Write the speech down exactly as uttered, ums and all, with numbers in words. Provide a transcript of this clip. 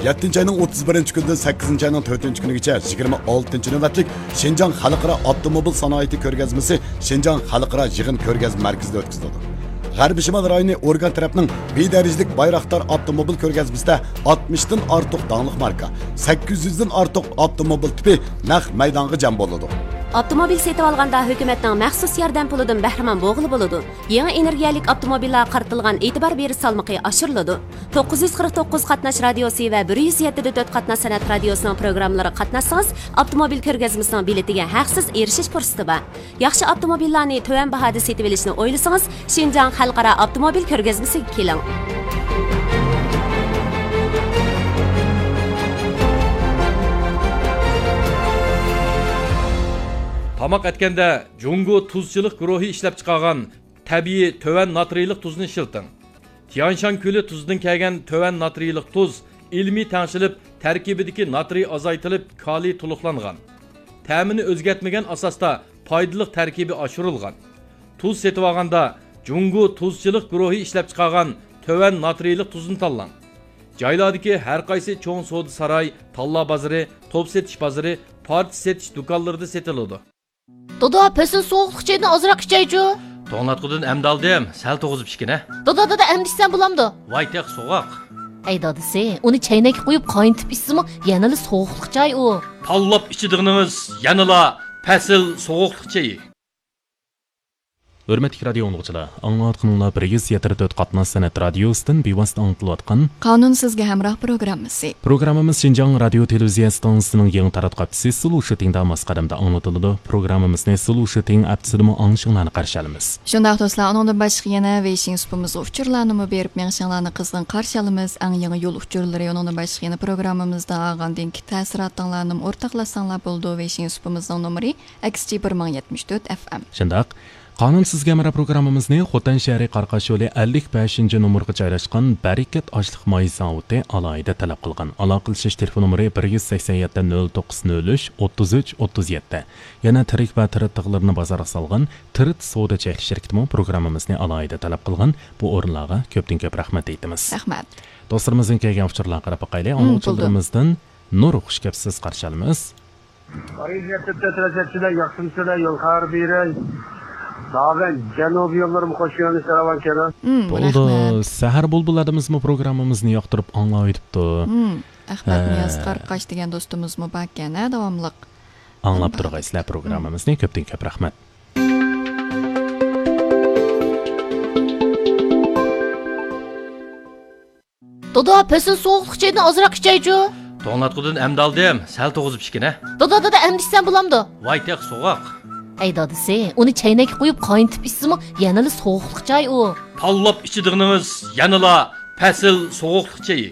يەتتىنچى ئاينىڭ ئوتتۇز بىرىنچى كۈنىدىن سەككىزىنچى ئاينىڭ تۆتىنچى كۈنىگىچە يىگىرمە ئالتىنچى نۆۋەتلىك شىنجاڭ خەلقئارا ئاپتوموبىل سانائىتى كۆرگەزمىسى شىنجاڭ خەلقئارا يىغىن كۆرگەزمە مەركىزىدە ئۆتكۈزۈلىدۇ. غەربىي شىمال رايونى ئورگان تەرەپنىڭ بى دەرىجىلىك بايراقدار ئاپتوموبىل كۆرگەزمىسىدە ئاتمىشتىن ئارتۇق داڭلىق ماركا، سەككىز يۈزدىن ئارتۇق ئاپتوموبىل تىپى نەق مەيدانغا جەم بولىدۇ. ئاپتوموبىل سېتىۋالغاندا ھۆكۈمەتنىڭ مەخسۇس ياردەم پۇلىدىن بەھرىمەن بولغىلى بولىدۇ. يېڭى ئېنېرگىيەلىك ئاپتوموبىللارغا قارىتىلغان ئېتىبار بېرىش سالمىقى ئاشۇرۇلىدۇ. توققۇز يۈز قىرىق توققۇز قاتناش رادىيوسى ۋە بىر يۈز يەتتە دۆت قاتناش سەنئەت رادىيوسىنىڭ پروگراممىلىرىغا قاتناشسىڭىز، ئاپتوموبىل كۆرگەزمىسىنىڭ بېلىتىگە ھەقسىز ئېرىشىش پۇرسىتى بار. ياخشى ئاپتوموبىللارنى تۆۋەن باھادا سېتىۋېلىشنى ئويلىسىڭىز، شىنجاڭ خەلقئارا ئاپتوموبىل كۆرگەزمىسىگە كېلىڭ. تاماق ئەتكەندە جۇڭگو تۇزچىلىق گۇرۇھى ئىشلەپچىقارغان تەبىئىي تۆۋەن ناترىيلىق تۇزنى ئىشلىتىڭ. تيانشان كۆلى تۇزىدىن كەلگەن تۆۋەن ناترىيلىق تۇز ئىلمىي تەڭشىلىپ، تەركىبىدىكى ناترىي ئازايتىلىپ، كالىي تولۇقلانغان. تەمىنى ئۆزگەرتمىگەن ئاساستا پايدىلىق تەركىبى ئاشۇرۇلغان. تۇز سېتىۋالغاندا جۇڭگو تۇزچىلىق گۇرۇھى ئىشلەپچىقارغان تۆۋەن ناترىيلىق تۇزنى تاللاڭ. جايلاردىكى ھەر قايسى چوڭ سودا ساراي، تاللا بازىرى، توپ سېتىش بازىرى، پارچە سېتىش دۇكانلىرىدا سېتىلىدۇ. دادا، پەسىل سوغۇقلۇق چېيىدىن ئازراق ئىچەيچۇ. توڭلاتقۇدىن ئەمدى ئالدىم، سەل توغۇزۇپ ئىچكىنە. دادا، دادا، ئەمدى ئىچسەم بولامدۇ؟ ۋاي تېخى سوغۇق. ھەي دادىسى، ئۇنى چەينەككە قۇيۇپ قاينىتىپ ئىچسىمۇ يەنىلا سوغۇقلۇق چاي ئۇ. تاللاپ ئىچىدىغىنىڭىز يەنىلا پەسىل سوغۇقلۇق چېيى. ھۆرمەتلىك رادىيو ئاڭلىغۇچىلار، ئاڭلاۋاتقىنىڭلار بىر يۈز يەتتە تۆت قاتناش سەنئەت رادىيوسىدىن بىۋاسىتە ئاڭلىتىلىۋاتقان قانۇن سىزگە ھەمراھ پروگراممىسى. پروگراممىمىز شىنجاڭ رادىيو تېلېۋىزىيە ئىستانسىسىنىڭ يېڭى تاراتقۇ ئاپچىسى سلۇشىتىڭدا ماس قەدەمدە ئاڭلىتىلىدۇ. پروگراممىمىزنى سلۇشىتىڭ ئاپچىسىدىمۇ ئاڭلىشىڭلارنى قارشى ئالىمىز. شۇنداق دوستلار، ئۇنىڭدىن باشقا يەنە ۋېيشىڭ سۇپىمىزغا ئۇچۇرلارنىمۇ بېرىپ مېڭىشىڭلارنى قىزغىن قارشى ئالىمىز. ئەڭ يېڭى يول ئۇچۇرلىرى، ئۇنىڭدىن باشقا يەنە پروگراممىمىزدا ئالغاندىن كېيىن تەسىراتىڭلارنىمۇ ئورتاقلاشساڭلار بولىدۇ. ۋېيشىڭ سۇپىمىزنىڭ نومۇرى ئەكس جى بىر مىڭ يەتمىش تۆت ئەف ئەم. شۇنداق. قانۇن سىزگە ھەمراھ پروگراممىمىزنى خوتەن شەھىرى قاراقاش يولى ئەللىك بەشىنچى نومۇرغا جايلاشقان بەرىكەت ئاشلىق ماي زاۋۇتى ئالاھىدە تەلەپ قىلغان. ئالاقىلىشىش تېلېفون نومۇرى بىر يۈز سەكسەن يەتتە، نۆل توققۇز، نۆل ئۈچ، ئوتتۇز ئۈچ، ئوتتۇز يەتتە. يەنە تىرىك ۋە تىرىت تىغلىرىنى بازارغا سالغان تىرىت سودا چەكلىك شىركىتىمۇ پروگراممىمىزنى ئالاھىدە تەلەپ قىلغان. بۇ ئورۇنلارغا كۆپتىن كۆپ رەھمەت ئېيتىمىز. رەھمەت. دوستلىرىمىزدىن كەلگەن ئۇچۇرلارغا قاراپ باقايلى. مم، ئاڭلىغۇچىلىرىمىزدىن نۇر خۇش كەپسىز قارشى ئالىمىز. پارىژ يەتتە تۆت رەسەتچىدە ياخشىمۇسىلەر يول خەۋەر بېرەي. داغەن جەنۇبىي يوللىرىمۇ خوش يۆنىلىش راۋان كېلىڭ. مم، بولدى. رەھمەت. سەھەر بۇلبۇل ئادىمىزمۇ پروگراممىمىزنى ياقتۇرۇپ ئاڭلاۋېتىپتۇ. مم، ئەخمەت ھە. نىياز قارقاش دېگەن دوستىمىزمۇ باركەن، ھە، داۋاملىق. ئاڭلاپ تۇرغايسىلەر پروگراممىمىزنى. كۆپتىن كۆپ رەھمەت. دادا، پەسىل سوغۇقلۇق چېيىدىن ئازراق ئىچەيچۇ. توڭلاتقۇدىن ئەمدى ئالدىم، سەل توغۇزۇپ ئىچكىنە. دادا، دادا، ئەمدى ئىچسەم بولامدۇ؟ ۋاي تېخى سوغۇق. ھەي دادىسى، ئۇنى چەينەككە قۇيۇپ قاينىتىپ ئىچسىمۇ يەنىلا سوغۇقلۇق چاي ئۇ. تاللاپ ئىچىدىغىنىڭىز يەنىلا پەسىل سوغۇقلۇق چېيى.